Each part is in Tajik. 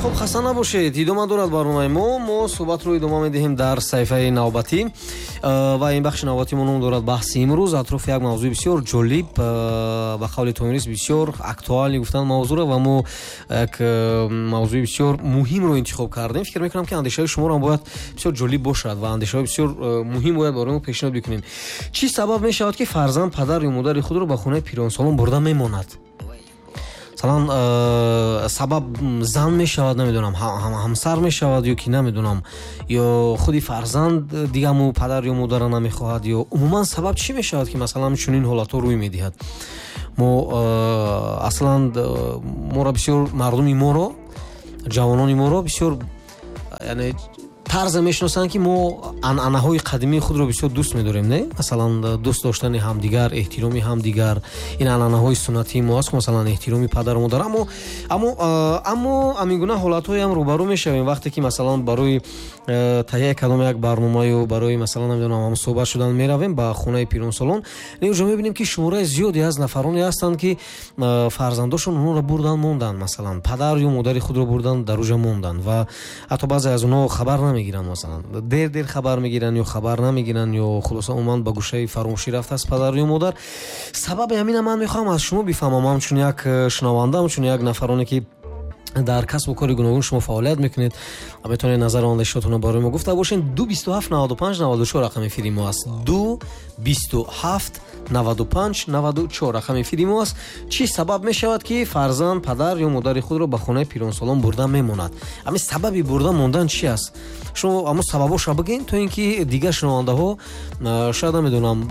Хуб, хаста набошед, идома дорад барномаи мо. Мо суҳбатро идома медиҳем дар саҳифаи навбатӣ ва ин бахши навбатии мо ном дорад баҳси имрӯз атрофи як мавзӯи бисёр ҷолиб, ба қавли Томирис бисёр актуалӣ гуфтан мавзӯъро, ва мо як мавзӯи бисёр муҳимро интихоб кардем. Фикр мекунам, ки андешаҳои шуморо бояд бисёр ҷолиб бошад ва андешаҳои бисёр муҳим бояд барои мо пешниҳод бикунем. Чӣ сабаб мешавад, ки фарзанд падар ё модари худро ба хонаи пиронсолон бурда мемонад? Масалан, сабаб зан мешавад, намедонам, ҳамсар мешавад ё ки намедонам, ё худи фарзанд дигамо падар ё модара намехоҳад, ё умуман сабаб чӣ мешавад, ки масалан чунин ҳолатҳо рӯй медиҳад? Мо аслан моро бисёр мардуми моро, ҷавонони моро бисёр, яъне тарзе мешиносанд, ки мо анъанаҳои қадимии худро бисёр дӯст медорем, не? Масалан, дӯст доштани ҳамдигар, эҳтироми ҳамдигар, ин анъанаҳои суннатии мо аст, масалан эҳтироми падару модар. Аммо ҳамин гуна ҳолатҳоям рӯбарӯ мешавем, вақте ки масалан барои таҳияи кадом як барномаю барои масалан намедонам ҳамсӯҳбат шудан меравем ба хонаи пиронсолон, уҷо мебинем, ки шумораи зиёде аз нафароне ҳастанд, ки фарзандошон онҳоро бурдан монданд, масалан падар ё модари худро бурдан дар уҷа монданд ва ҳатто баъзе аз онҳо хабар намегиранд, масалан дер дер хабар мегиранд ё хабар намегиранд, ё хулоса умуман ба гӯшаи фаромӯшӣ рафтааст падар ё модар. Сабаби ҳамина ман мехоҳам аз шумо бифаҳмам, ҳамчун як шунаванда, ҳамчун як нафароне, ки дар касбу кори гуногун шумо фаъолият мекунед ва метавонед назару андешаотонро барои мо гуфта бошед. 2 27 95 94 рақами эфири мо аст. 2 27 95 94 рақами эфири мо аст. Чӣ сабаб мешавад, ки фарзанд падар ё модари худро ба хонаи пиронсолон бурда мемонад? Ҳамин сабаби бурда мондан чи аст? Шумо ҳамон сабабоша бигӯед, то ин ки дигар шунавандаҳо шояд намедонам,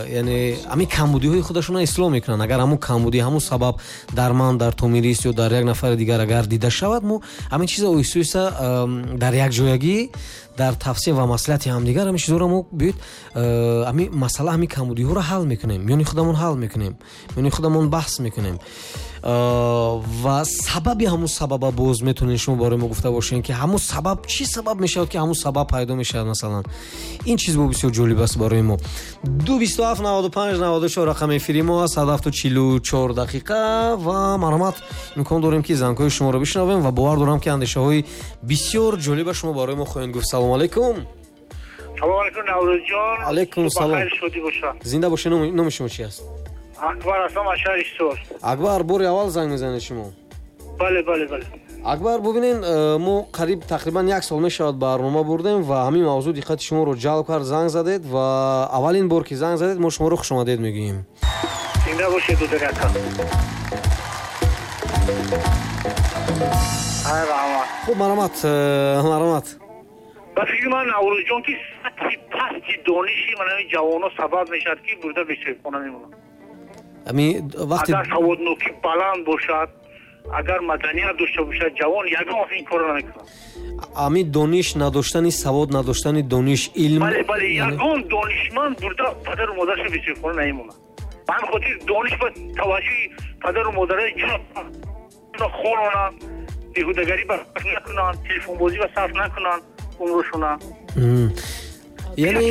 яъне ҳамин камбудиҳои худашонро ислоҳ мекунанд. Агар ҳамон камбудӣ, ҳамон сабаб дар ман, дар Томирис ё дар як нафари дигар агар дида шавад, мо ҳамин чиза оҳиста оҳиста дар якҷоягӣ, дар тавсия ва маслиҳати ҳамдигар ҳамин чизҳоро мо биёед, ҳамин масъала, ҳамин камбудиҳоро ҳал мекунем, миёни худамон ҳал мекунем, миёни худамон баҳс мекунем. Ва сабаби ҳамун сабаба боз метавонед шумо барои мо гуфта бошед, ки ҳамун сабаб чӣ сабаб мешавад, ки ҳамун сабаб пайдо мешавад? Масалан, ин чиз бо бисёр ҷолиб аст барои мо. 2 27 95 94 рақами эфири мо аст. 7:44 ва марҳамат, имкон дорем, ки зангҳои шуморо бишнавем ва бовар дорам, ки андешаҳои бисёр ҷолиба шумо барои мо хоҳед гуфт. Салому алайкум. Салому алайкум, Наврӯзҷон. Алайкум салом, зинда бошед. Номи шумо чи аст? Акбар ҳастам аз шаҳри Ҳисор. Акбар, бори аввал занг мезанед шумо? Бале. Акбар, бубинен, мо қариб тақрибан як сол мешавад барнома бурдем ва ҳамин мавзӯъ диққати шуморо ҷалб кард, занг задед ва аввалин бор ки занг задед, мо шуморо хушомадед мегӯем. Зинда бошед, додари ака. Хуб, марҳамат, марҳамат. Ба фикри ман, Наврӯзҷон, ки сатҳи пасти дониши манами ҷавонҳо сабаб мешавад, ки бурда бесоҳибхона мемонанд. Вақте агар саводнокӣ баланд бошад, агар маданият дошта бошад, ҷавон ягон вақт ин корро намекунад. Ами дониш надоштани, савод надоштани, дониш, илм. Бале, ягон донишманд бурда падару модарашро бесоҳибхона намемонад. Ба ҳамин хотир дониш ба таваҷҷӯҳи падару модараи хононанд, беҳудагарӣ ба накунанд, телефонбозӣ ба сарф накунанд умршона. Яъне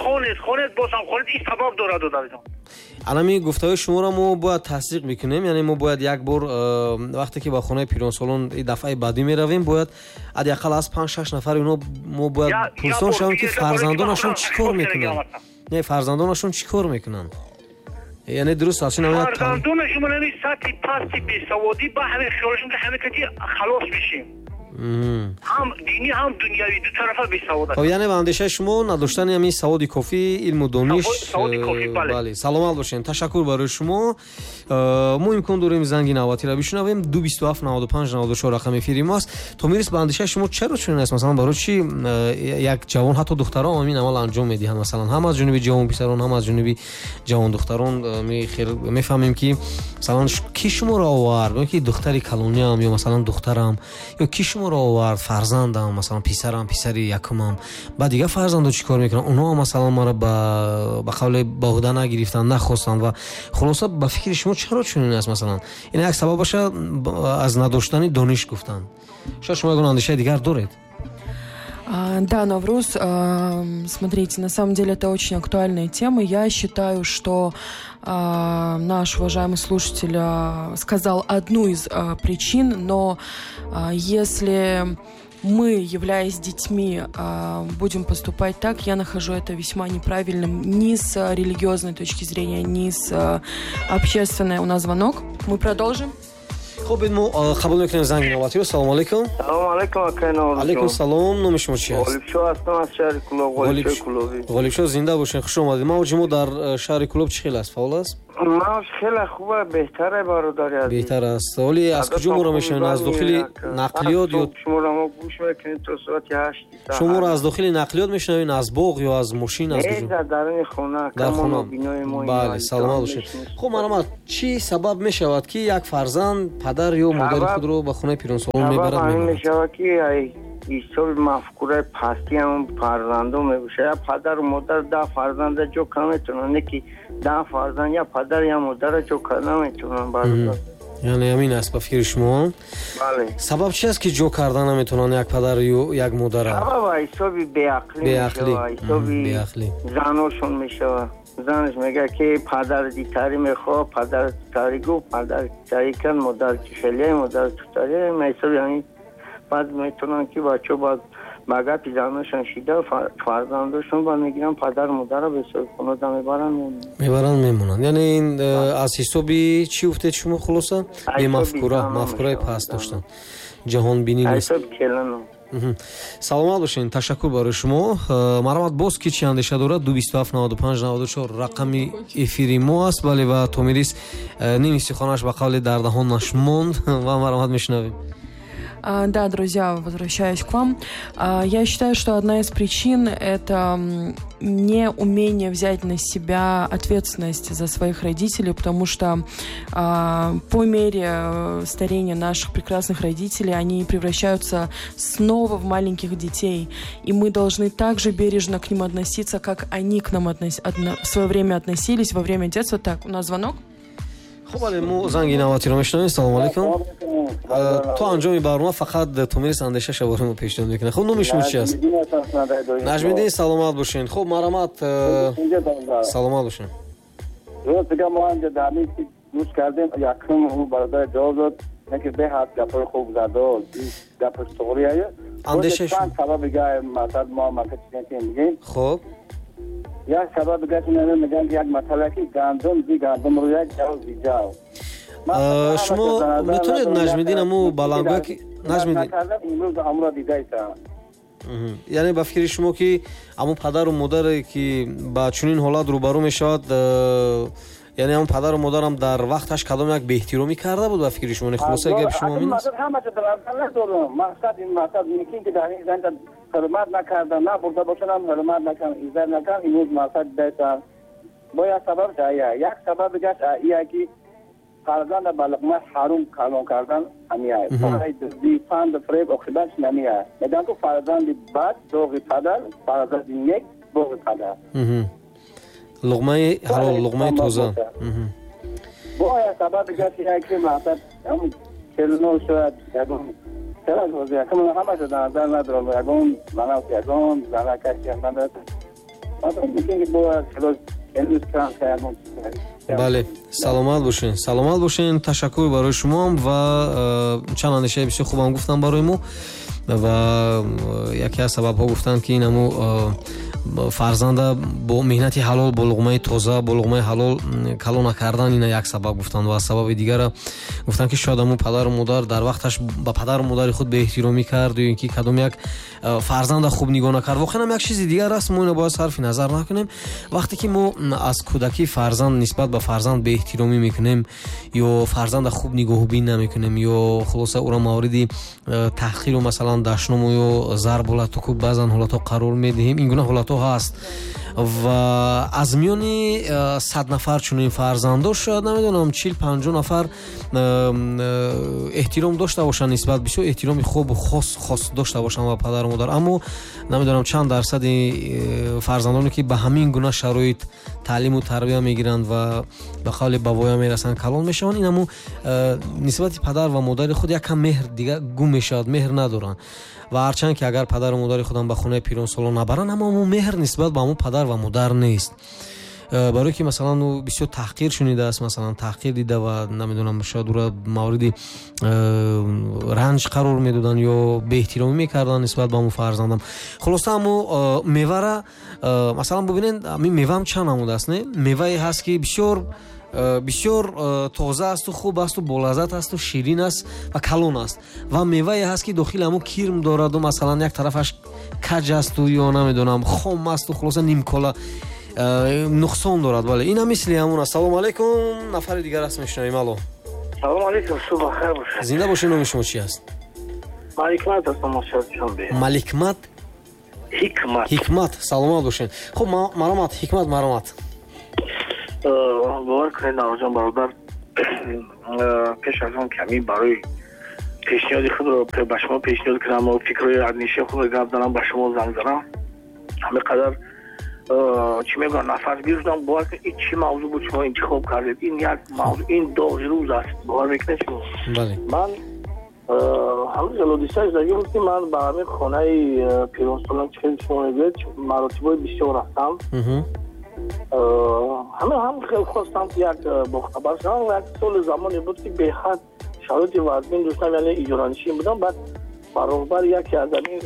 Хонед, хонед, бозам хонед, ин сабаб дорад, додарҷон. Анами гуфтаҳои шуморо мо бояд тасдиқ мекунем, яъне мо бояд як бор, вақте ки ба хонаи пиронсолон дафъаи баъдӣ меравем, бояд ҳадди ақал аз панҷ шаш нафари онҳо мо бояд пурсон шавем, ки фарзандонашон чӣ кор мекунанд, не, фарзандонашон чӣ кор мекунанд. Яъне дуруст аст. Фарзандонашон ҳамин сатҳи пасти бесаводӣ, ба ҳамин хиёлашон, ки ҳамин кати халос мешем, ҳам динӣ, ҳам дунявӣ, ду тарафа бесавод. Яъне ба андешаи шумо, надоштани ҳамин саводи кофӣ, илму дониш. Саводи кофӣ, бале. Бале, саломат бошед, ташаккур барои шумо. Мо имкон дорем занги навбатиро бишунавем. 2 27 95 94 рақами эфири мо аст. Томирис, ба андешаи шумо чаро чунин аст? Масалан, барои чӣ як ҷавон, ҳатто духтарон ҳамин амал анҷом медиҳанд? Масалан, ҳам аз ҷониби ҷавон писарон, ҳам аз ҷониби ҷавон духтарон мефаҳмем, ки масалан ки шуморо овард, ё ки духтари калониам, ё масалан духтарам, ё ки шуморо овард, фарзандам, масалан писарам, писари якумам. Баъд дигар фарзандо чӣ кор мекунанд? Онҳо масалан маро ба қавле ба ӯҳда нагирифтанд, нахостанд. Ва хулоса, ба фикри шумо чаро чунин аст? Масалан, ин як сабабаша аз надоштани дониш гуфтанд. Шояд шумо ягон андешаи дигар доред. Да, Навруз, смотрите, на самом деле это очень актуальная тема. Я считаю, что наш уважаемый слушатель сказал одну из причин, но если мы, являясь детьми, будем поступать так, я нахожу это весьма неправильным ни с религиозной точки зрения, ни с общественной. У нас звонок. Мы продолжим. Хуб, мо қабул мекунем занги навбатиро. Салому алайкум. Салому алайкум, акай Наврӯз. Алайкум салом. Номи шумо чи аст? Ғолибшо ҳастам аз шаҳри Кӯлоб. Ғолибшои Кӯлобӣ. Ғолибшо, зинда бошед, хуш омадед. Мавҷи мо дар шаҳри Кӯлоб чӣ хел аст? Фаъол аст? Мавҷ хеле хуб аст, беҳтар аст, бародари азиз. Беҳтар аст. Ҳоле аз куҷо моро мешунавед? Аз дохили нақлиёт ё шуморо мо гӯш мекунем то соати 8? Шуморо аз дохили нақлиёт мешунавед, аз боғ ё аз мошин, аз куҷо? Не, дар даруни хона. Дар хона. Бале, саломат бошед. Хуб, марҳамат, чӣ сабаб мешавад, ки як фарзанд падар ё модари худро ба хонаи пиронсолон мебарад? Сабаб ҳамин мешавад, ки ҳисоби мафкураи пастӣ ҳамон фарзандон мебошад. Я падару модар 10 фарзанда ҷо карда метавонанд, не ки 10 фарзанд я падар я модара ҷо карда наметавонанд, бародар. Яъне ҳамин аст ба фикри шумо? Бале. Сабаб чи аст, ки ҷо карда наметавонанд як падар ё як модара? Сабаб ҳисоби беақлӣ мешавад, ҳисоби заношон мешавад. Занаш мегӯяд, ки падар дитарӣ мехоҳад, падар тутарӣ гуфт, падар тутарӣ кард, модар хеле, модар тутарӣ. Ҳисоби ҳамин баъд метавонанд, ки бачаҳо баъд ба гапи заношон шида фарзандошон баъд мегиранд падару модарро ба ҳисоби хонада мебаранд, мебаранд, мемонанд. Яъне ин аз ҳисоби чӣ гуфтед шумо, хулоса? Бемафкура, мафкураи паст доштан, ҷаҳонбинӣ нест. Саломат бошед, ташаккур барои шумо. Марҳамат, боз ки чӣ андеша дорад? 227 95 94 рақами эфири мо аст. Бале, ва Томирис ними суханаш ба қавли дар даҳонаш монд ва марҳамат, мешунавем. Да, друзья, возвращаюсь к вам. Я считаю, что одна из причин – это неумение взять на себя ответственность за своих родителей, потому что по мере старения наших прекрасных родителей они превращаются снова в маленьких детей, и мы должны также бережно к ним относиться, как они к нам в свое время относились во время детства. Так, у нас звонок. Хуб, бале, мо занги навбатиро мешунавем. Салому алайкум. То анҷоми барнома фақат Томирис андешаша барои мо пешниҳод мекунад. Хуб, номи шумо чи аст? Наҷмиддин, саломат бошед. Хуб, марҳамат, саломат бошед. Рост дига, мо ҳамҷа дар ҳамин гӯш кардем, якум бародар ҷавоб дод, ки беҳад гапҳои хуб задод, гапаш туғрия. Андешаи чанд сабаб дига, масалан, мо масалан чизе ки мегӯем. Хуб, як сабаб дига мегӯянд, як масъала, ки гандум зи гандум рӯяд, ҷав зи ҷав. Шумо метавонед, Наҷмиддин, аму баландгӯя ки Наҷмиддин имрӯз амро дидаистам. Яъне ба фикри шумо, ки аму падару модаре ки ба чунин ҳолат рӯбарӯ мешавад, яъне ҳамон падару модарам дар вақташ кадом як беэҳтиромӣ карда буд, ба фикри шумо? Не, хулосаи гапи шумо ҳамин аст? Ҳамаҷо дар надорам. Мақсад ин, мақсад мумкин, ки дар ин зан ҳурмат накарда, набурда бошанд, ҳам ҳурмат накардан, иззат накардан, имрӯз мақсад дидаистам. Бо як сабаб ая, як сабаб дигаш ия, ки фарзанда ба луқмаи ҳаром калон кардан ҳамия. Дуздӣ, панду фиреб, оқибатш намия. Мегӯянд, ку фарзанди бад доғи падар, фарзанди нек боғи падар. Луқмаи ҳалол, луқмаи тоза. Бо як сабаб дигаш ия, ки мақсад келино шояд ягон ҳамаша дар назар надорам, ягон манав, ягон занакаши надорам, мумкин ки бояд Бале, саломат бошед, саломат бошед. Ташаккур барои шумоам ва чанд андешаи бисёр хубам гуфтам барои мо. Ва яке аз сабабҳо гуфтанд, ки ин ҳаму фарзанда бо меҳнати ҳалол, бо луқмаи тоза, бо луқмаи ҳалол калон накардан, ина як сабаб гуфтанд. Ва сабаби дигара гуфтанд, ки шояд ҳамун падару модар дар вақташ ба падару модари худ беэҳтиромӣ кард ё ин ки кадом як фарзанда хуб нигоҳ накард. Воқеан ҳам як чизи дигар аст, мо ина бояд сарфи назар накунем. Вақте ки мо аз кӯдакӣ фарзанд нисбат ба фарзанд беэҳтиромӣ мекунем ё фарзанда хуб нигоҳубин намекунем ё хулоса ӯро мавриди таҳқиру, масалан, дашному ё зарбу латуку баъзан ҳолатҳо қарор медиҳем, ин гуна ҳолатҳо ҳаст. Ва аз миёни 100 нафар чунин фарзандо шояд намедонам 40-50 нафар эҳтиром дошта бошанд нисбат, бисёр эҳтироми хубу хос дошта бошанд ба падару модар. Аммо намедонам чанд дарсади фарзандоне ки ба ҳамин гуна шароит таълиму тарбия мегиранд ва ба қавли ба воя мерасанд, калон мешаванд, ин ҳамун нисбати падар ва модари худ якам меҳр дига гум мешавад, меҳр надоранд. Ва ҳарчанд ки агар падару модари худам ба хонаи пиронсолон набаранд, аммо ҳамун меҳр нисбат ба ҳамун падар ва модар нест. Барое ки масалан ӯ бисёр таҳқир шунидааст, масалан таҳқир дида ва намедонам шояд ӯро мавриди ранҷ қарор медоданд ё беэҳтиромӣ мекарданд нисбат ба ҳамун фарзандам. Хулоса ҳамун мевара масалан бубинед, ҳамин меваам чанд намуд аст, не? Мевае ҳаст ки бисёр бисёр тоза асту хуб асту болаззат асту ширин аст ва калон аст, ва мевае ҳаст ки дохили ҳамун кирм дораду масалан як тарафаш каҷ асту ё намедонам хом асту хулоса нимкола нуқсон дорад. Бале, ин ҳам мисли ҳамун аст. Салому алайкум, нафари дигар аст, мешунавем. Алло, салому алайкум, субҳ бахайр бошед. Зинда бошед. Номи шумо чи аст? Маликмат астам, шанбе. Маликмат? Ҳикмат. Ҳикмат, саломат бошед. Хуб, маромат, Ҳикмат, маромат. Бовар кунед, Наврӯзҷон бародар, пеш аз он ки ҳамин барои пешниҳоди худро ба шумо пешниҳод кунам ва фикрҳои андешаи худро гап занам, ба шумо занг занам, ҳамин қадар чӣ мегӯям, нафасгир шудам. Бовар кунед, ин чӣ мавзӯъ буд шумо интихоб кардед? Ин як мавзӯъ, ин доғи рӯз аст. Бовар мекунед шумо? Бале. Ман ҳамин ҳодиса шудагӣ буд ки ман ба ҳамин хонаи пиронсолон, чӣ хеле шумо мегӯед, маротибҳои бисёр рафтам. Ҳама ҳам хеле хостам ки як бохабар шавам. Як соли замоне буд ки беҳад шароити вазмин доштам, яъне иҷоранишин будам. Баъд баробар яке аз ҳамин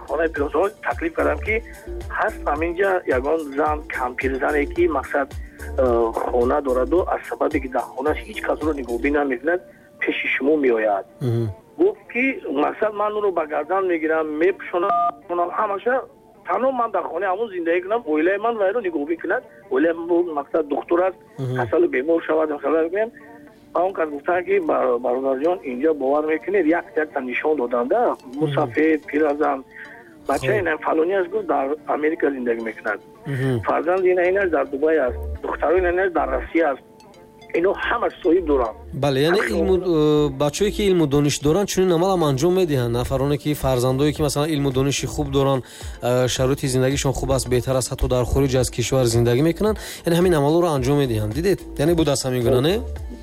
хонаи пиронсолон таклиф кардам ки ҳаст ҳаминҷа ягон зан, кампирзане ки мақсад хона дораду аз сабабе ки дар хонааш ҳеҷ касро нигоҳбин намекунад, пеши шумо меояд. Гуфт ки мақсад ман ӯро ба гардан мегирам, мепӯшонам, ҳамаша танҳо ман дар хонаи ҳамон зиндагӣ кунам, оилаи ман вайро нигоҳбин кунад. Оилаи ман мақсад духтур аст, касалу бемор шавад, мегӯям. Ба он кас гуфтанд ки бародарҷон, инҷо бовар мекунед, як якта нишон доданда, мусафед, пиразан, бачаи ин фалонӣ аст, гуфт дар Америка зиндагӣ мекунад, фарзанди ин ин аст дар Дубай аст, духтарои ин аст дар Россия аст. Ино ҳама соҳиб доранд. Бале, яъне илму бачаҳое ки илму дониш доранд чунин амал ҳам анҷом медиҳанд. Нафароне ки фарзандое ки масалан илму дониши хуб доранд, шароити зиндагишон хуб аст, беҳтар аст, ҳатто дар хориҷ аз кишвар зиндагӣ мекунанд, яъне ҳамин амалҳоро анҷом медиҳанд. Дидед? Яъне буд аз ҳамин гуна, не?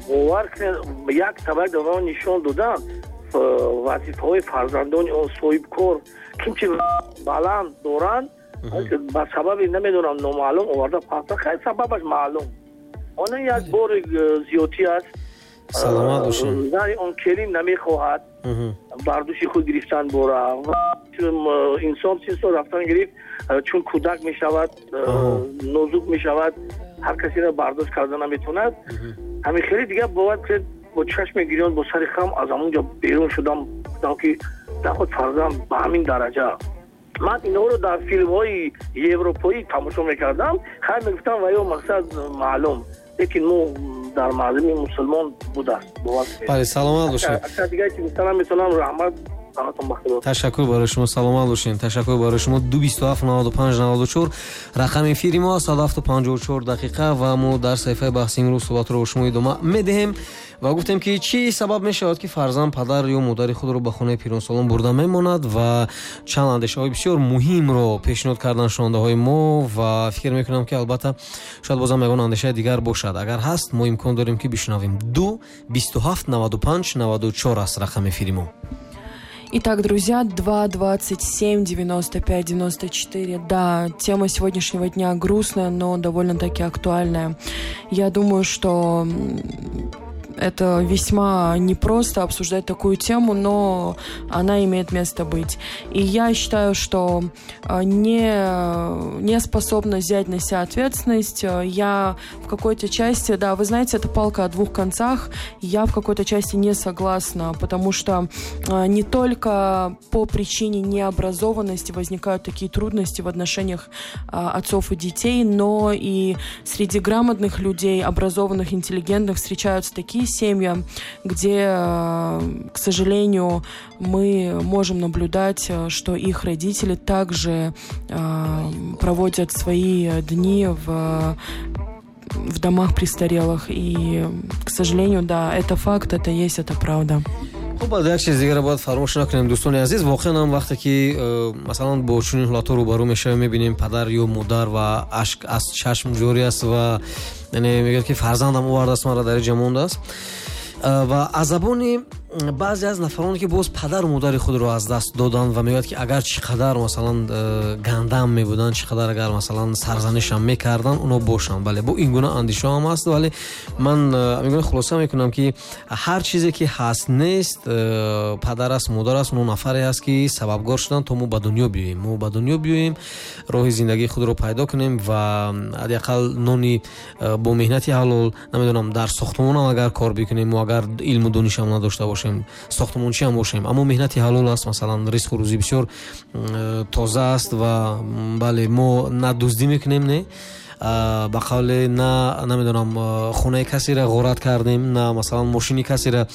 Бовар кунед, як табақ ба нишон додан вазифаҳои фарзандони он соҳибкор кимчи баланд доранд, ба сабаби намедонам номаълум оварда пахта, хай сабабаш маълум. Он як бор зиёдтӣ аст. Саломат бошед. Зани он келин намехоҳад бардуши худ гирифтан бора. Инсон 30 сол рафтан гирифт, чун кӯдак мешавад, нозук мешавад, ҳар касеро бардошт карда наметавонад. Ҳамин хеле дигар бовар кунед, бо чашми гирён, бо сари хам аз ҳамон ҷо берун шудам, гуфтам ки наход фарзанд ба ҳамин дараҷа. Ман инҳоро дар филмҳои европоӣ тамошо мекардам, хай мегуфтам ва ё мақсад маълум, лекин мо дар мардуми мусулмон будааст. Бале, саломат бошед. Ака дигар чи гуфтанам метавонам, раҳмат. Ташаккур барои шумо, саломат бошед. Ташаккур барои шумо. 227 95 94 рақами эфири мо аст, 7:54 дақиқа ва мо дар саҳифаи баҳси имрӯз суҳбатро бо шумо идома медиҳем ва гуфтем ки чӣ сабаб мешавад ки фарзанд падар ё модари худро ба хонаи пиронсолон бурда мемонад ва чанд андешаҳои бисёр муҳимро пешниҳод карданд шунавандаҳои мо ва фикр мекунам ки албатта шояд бозам ягон андешаи дигар бошад. Агар ҳаст, мо имкон дорем ки бишунавем. 2 27 95 94 аст рақами эфири мо. Итак, друзья, 2 27 95 94. Да, тема сегодняшнего дня грустная, но довольно-таки актуальная. Я думаю, что это весьма непросто обсуждать такую тему, но она имеет место быть. И я считаю, что не способна взять на себя ответственность. Я в какой-то части, да, вы знаете, это палка о двух концах, я в какой-то части не согласна, потому что не только по причине необразованности возникают такие трудности в отношениях отцов и детей, но и среди грамотных людей, образованных, интеллигентных встречаются такие другие семьи, где, к сожалению, мы можем наблюдать, что их родители также проводят свои дни в домах престарелых. И, к сожалению, да, это факт, это есть, это правда. Хуб, як чиз дигарро бояд фаромӯш накунем, дӯстони азиз. Воқеан ҳам вақте ки масалан бо чунин ҳолатҳо рӯбарӯ мешавем, мебинем падар ё модар ва ашк аз чашм ҷорӣ аст ва яъне мегӯяд ки фарзандам овардааст маро дар инҷа мондааст. Ва аз забони баъзе аз нафароне ки боз падару модари худро аз даст доданд ва мегӯяд ки агар чӣ қадар масалан гандам мебуданд, чӣ қадар агар масалан сарзанишам мекарданд, оно бошанд. Бале, бо ин гуна андешаҳо ҳам аст, вале ман мегӯям, хулоса мекунам ки ҳар чизе ки ҳаст нест, падар аст, модар аст, оно нафаре аст ки сабабгор шуданд то мо ба дунё биёем, мо ба дунё биёем, роҳи зиндагии худро пайдо кунем ва ҳадди ақал нони бо меҳнати ҳалол, намедонам, дар сохтмонам агар кор бикунем, мо агар илму донишам надошта бошем, сохтмончи ҳам бошем, аммо меҳнати ҳалол аст, масалан ризқу рӯзӣ бисёр тоза аст ва бале, мо на дуздӣ мекунем, не ба қавле на намедонам хонаи касеро ғорат кардем, на масалан мошини касеро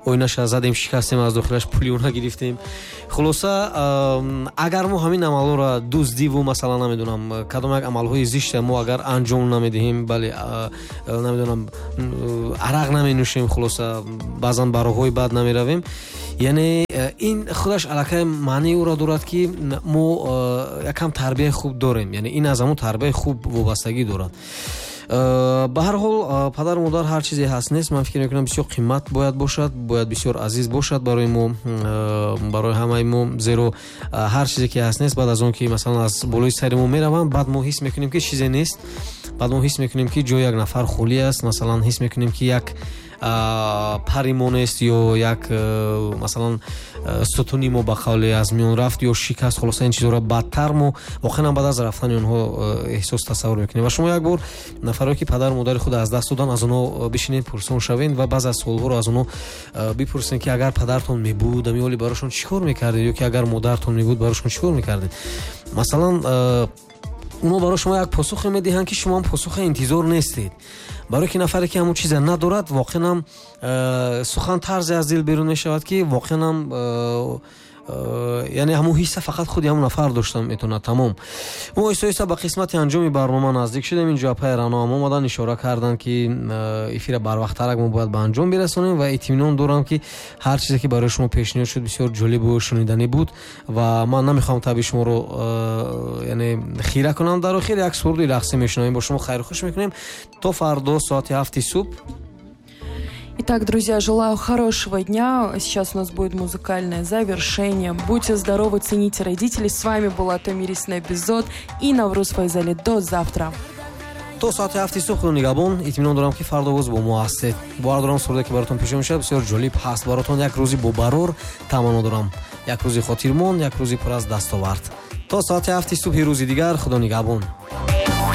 оинаша задем, шикастем, аз дохилаш пули она гирифтем. Хулоса, агар мо ҳамин амалҳоро дуздиву масалан намедонам кадом як амалҳои зишта мо агар анҷом намедиҳем, бале, намедонам арақ наменӯшем, хулоса баъзан ба роҳҳои бад намеравем, яъне ин худаш аллакай маънии ӯро дорад ки мо якам тарбияи хуб дорем, яъне ин аз ҳамон тарбияи хуб вобастагӣ дорад. Ба ҳар ҳол, падару модар ҳар чизе ҳаст нест, ман фикр мекунам бисёр қимат бояд бошад, бояд бисёр азиз бошад барои мо, барои ҳамаи мо, зеро ҳар чизе ки ҳаст нест, баъд аз он ки масалан аз болои сари мо мераванд, баъд мо ҳис мекунем ки чизе нест, баъд мо ҳис мекунем ки ҷои як нафар холӣ аст, масалан ҳис мекунем ки як пари мо нест ё як масалан сутуни мо ба қавле аз миён рафт ё шикаст. Хулоса ин чизҳоро бадтар мо воқеан баъд аз рафтани онҳо эҳсос тасаввур мекунем. Ва шумо як бор нафаре ки падару модари худ аз даст доданд, аз онҳо бишинед, пурсон шавед ва баъзе аз суолҳоро аз онҳо бипурсед ки агар падартон мебуд, ами ҳоли барошон чӣ кор мекардед, ё ки агар модартон мебуд, барошон чӣ кор мекардед. Масалан онҳо барои шумо як посухе медиҳанд ки шумо ҳам посухе интизор нестед. Барои ки нафаре ки ҳамон чиза надорад, воқеан ҳам сухан тарзе аз дил берун мешавад ки воқеан ҳам яъне ҳамон ҳисса фақат худи ҳамон нафар дошта метавонад. Тамом, мо оҳиста оҳиста ба қисмати анҷоми барнома наздик шудем. Инҷо апаи Рано ҳам омадан, ишора карданд ки эфира барвақттарак мо бояд ба анҷом бирасонем ва итминон дорам ки ҳар чизе ки барои шумо пешниҳод шуд бисёр ҷолибу шуниданӣ буд ва ман намехоҳам табъи шуморо яъне хира кунам. Дар охир як суруди рақсӣ мешунавем, бо шумо хайру хуш мекунем то фардо соати 7 субҳ. Итак, друзья, желаю хорошего дня. Сейчас у нас будет музыкальное завершение. Будьте здоровы, цените родителей. С вами была Томирис Набизод и Навруз Файзали. До завтра. То соати 7 субҳ худо нигаҳбон. Итминон дорам ки фардо боз бо мо ҳастед. Бовар дорам суруде ки баротон пешниҳод мешавад бисёр ҷолиб ҳаст. Баротон як рӯзи бобарор таманно дорам, як рӯзи хотирмон, як рӯзи пур аз дастовард. То соати 7 субҳи рӯзи дигар худо нигаҳбон.